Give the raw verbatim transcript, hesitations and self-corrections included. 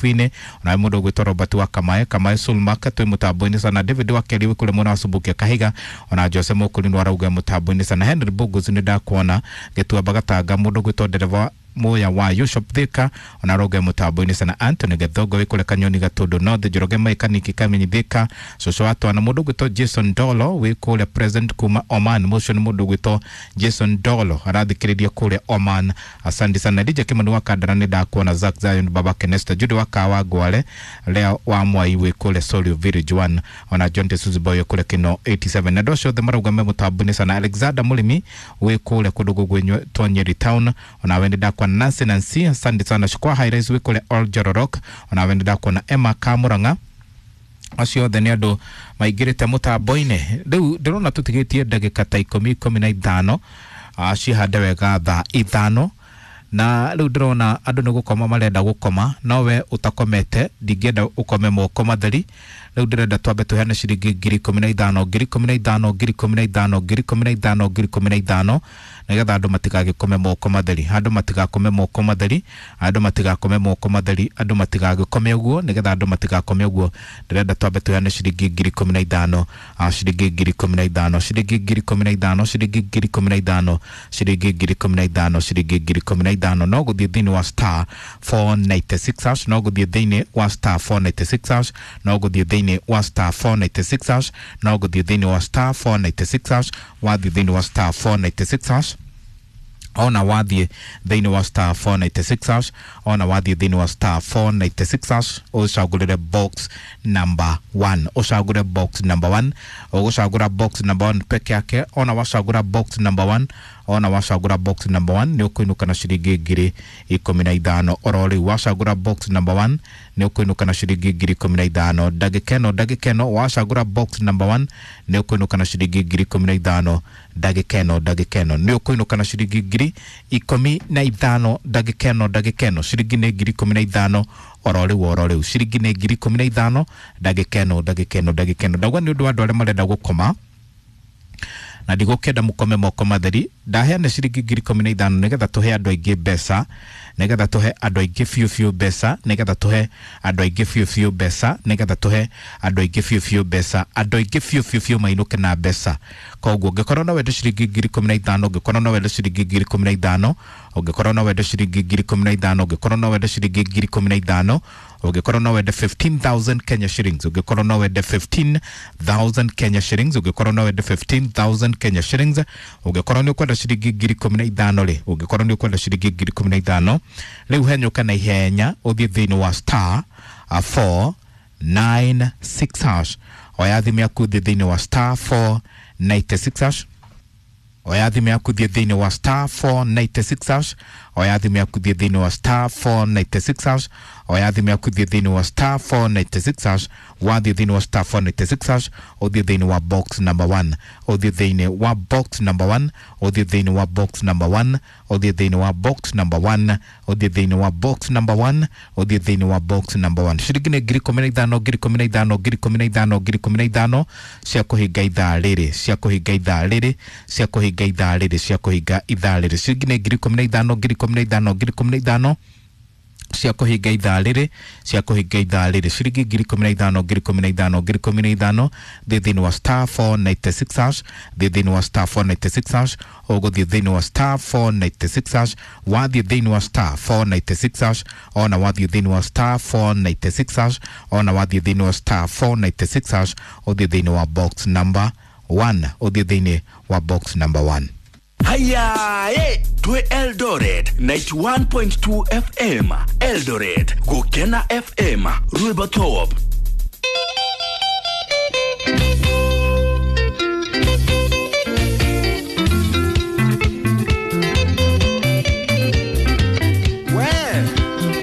Fine na mundu gwitwo Robert wa Kamae Kamae Sulmak twi mutambo-ini sana David wa Keri kule mwena wa Subukia Kahiga ona Jose Mukuri arauga mutambo-ini sana Henry Bugus ni ndakuona Gĩtuamba Gatanga mundu gwitwo ndereba Moya wa Yushop Thika ona arauga mutambo-ini sana Anthony Gethongo wi kule Kanyoni Gatundu North Njoroge Maikaniki Kamenyi Thika Cucu wa Twana mundu gwitwo Jason Dolo wi kule present kuma Oman motion mundu gwitwo Jason Dolo arathikiriria kule Oman. Asante sana D J Kimani wa Kandara ni ndakuona Zack Zion Baba Kenesta Jude wa Kawa Ngwale Leo wa Mwai wi kule Solio Village one ona John Tesuzi Boy kule Kino eighty-seven na ndocio othe marauga me mutambo-ini sana Alexander Mulimi wi kule kundu gugwinywo Nyeri town ona we ndakuona Nancy Nancy asante sana Shukwa High wi kule Old Jororok ona we ndakuona Emma Kamuranga acio othe nĩ andũ maingĩrĩte mũtambo-inĩ. Rĩu ndĩrona tũtigĩtie ndagĩka ta ikũmi ikũmi na ithano cihande wega thaa ithano na rĩu ndĩrona andũ nĩ gũkoma marenda gũkoma no we ũtakomete ndingĩenda ũkome moko matheri. Rĩu ndĩrenda twambe tũheane ciringi ngiri ikũmi na ithano ngiri ikũmi na ithano ngiri ikũmi na ithano ngiri ikũmi na ithano ngiri ikũmi na ithano nĩgetha andũ matigagĩkome moko matheri andũ matigakome moko matheri andũ matigakome moko matheri andũ matigagĩkome ũguo nĩgetha andũ matigakome ũguo ndĩrenda twambe tũheane ciringi ngiri ikũmi na ithano ciringi ngiri ikũmi na ithano ciringi ngiri ikũmi na ithano ciringi ngiri ikũmi na ithano ciringi ngiri ikũmi na ithano ciringi ngiri ikũmi na ithano no gũthiĩ thĩinĩ wa star four ninety-six hash no gũthiĩ thĩinĩ wa star four ninety-six hash no gũthiĩ thĩinĩ wa star four ninety-six hash no gũthiĩ thĩinĩ wa star four ninety-six hash wathiĩ thĩinĩ wa star four ninety-six hash ona wathiĩ thĩinĩ wa star four ninety-six hash ona wathiĩ thĩinĩ wa star four ninety-six hash ũcagũrĩre box number one ũcagũre box number one ũgũcagũra box number one peke yake ona wacagũra box number one ona wacagũra box number one nĩ ũkũinũka na ciringi ngiri ikũmi na ithano oro rĩu wacagũra box number one nĩ ũkũinũka na ciringi ngiri ikũmi na ithano ndagĩka ĩno ndagĩka ĩno wacagũra box number one nĩ ũkũinũka na ciringi ngiri ikũmi na ithano ndagĩka ĩno ndagĩka ĩno nĩ ũkũinũka na ciringi ngiri ikũmi na ithano ndagĩka ĩno ndagĩka ĩno ciringi nĩ ngiri ikũmi na ithano oro rĩu oro rĩu ciringi nĩ ngiri ikũmi na ithano ndagĩka ĩno ndagĩka ĩno ndagĩka ĩno ndauga nĩ ũndũ wa andũ arĩa marenda gũkoma na ndigũkĩenda mũkome moko matheri ndaheana ciringi ngiri ikũmi na ithano nĩgetha tũhe andũ aingĩ mbeca nĩgetha tũhe andũ aingĩ biũ biũ mbeca nĩgetha tũhe andũ aingĩ biũ biũ mbeca nĩgetha tũhe andũ aingĩ biũ biũ mbeca andũ aingĩ biũ biũ biũ mainũke na mbeca koguo ũngĩkorwo no wende ciringi ngiri ikũmi na ithano ũngĩkorwo no wende ciringi ngiri ikũmi na ithano ũngĩkorwo no wende ciringi ngiri ikũmi na ithano ũngĩkorwo no wende ciringi ngiri ikũmi na ithano ũngĩkorwo no wende fifteen thousand Kenya shillings ũngĩkorwo no wende fifteen thousand Kenya shillings ũngĩkorwo no wende fifteen thousand Kenya shillings ũngĩkorwo nĩ ũkwenda ciringi ngiri ikũmi na ithano rĩ ũngĩkorwo nĩ ũkwenda ciringi ngiri ikũmi na ithano rĩu henyũka na ihenya ũthiĩ thĩinĩ wa star four nine six hash oya thimũ yaku thiĩ thĩinĩ wa star four ninety-six hash oya thimũ yaku thiĩ thĩinĩ wa star four ninety-six hash oya thimũ yaku thiĩ thĩinĩ wa star four ninety-six hash oya thimũ yaku thiĩ thĩinĩ wa star four ninety-six hash wathiĩ thĩinĩ wa star four ninety-six hash ũthiĩ thĩinĩ wa box number one ũthiĩ thĩinĩ wa box number one ũthiĩ thĩinĩ wa box number one ũthiĩ thĩinĩ wa box number one ũthiĩ thĩinĩ wa box number one ũthiĩ thĩinĩ wa box number one ciringi nĩ ngiri ikũmi na ithano ngiri ikũmi na ithano ngiri ikũmi na ithano ngiri ikũmi na ithano cia kũhinga ithaa rĩrĩ cia kũhinga ithaa rĩrĩ cia kũhinga ithaa rĩrĩ cia kũhinga ithaa rĩrĩ ciringi nĩ ngiri ikũmi na ithano ngiri ikũmi na ithano ngiri ikũmi na ithano cia kũhinga ithaa rĩrĩ cia kũhinga ithaa rĩrĩ ciringi ngiri ikũmi na ithano ngiri ikũmi na ithano ngiri ikũmi na ithano thiĩ thĩinĩ wa star four ninety-six hash thiĩ thĩinĩ wa star four ninety-six hash ũgũthiĩ thĩinĩ wa star four ninety-six hash wathiĩ thĩinĩ wa star four ninety-six hash ona wathiĩ thĩinĩ wa star four ninety-six hash ona wathiĩ thĩinĩ wa star four ninety-six hash ũthiĩ thĩinĩ wa box number one ũthiĩ thĩinĩ wa box number one. Haya, eh, twe Eldoret ninety-one point two F M, Eldoret, Gokena F M, Rweba Top.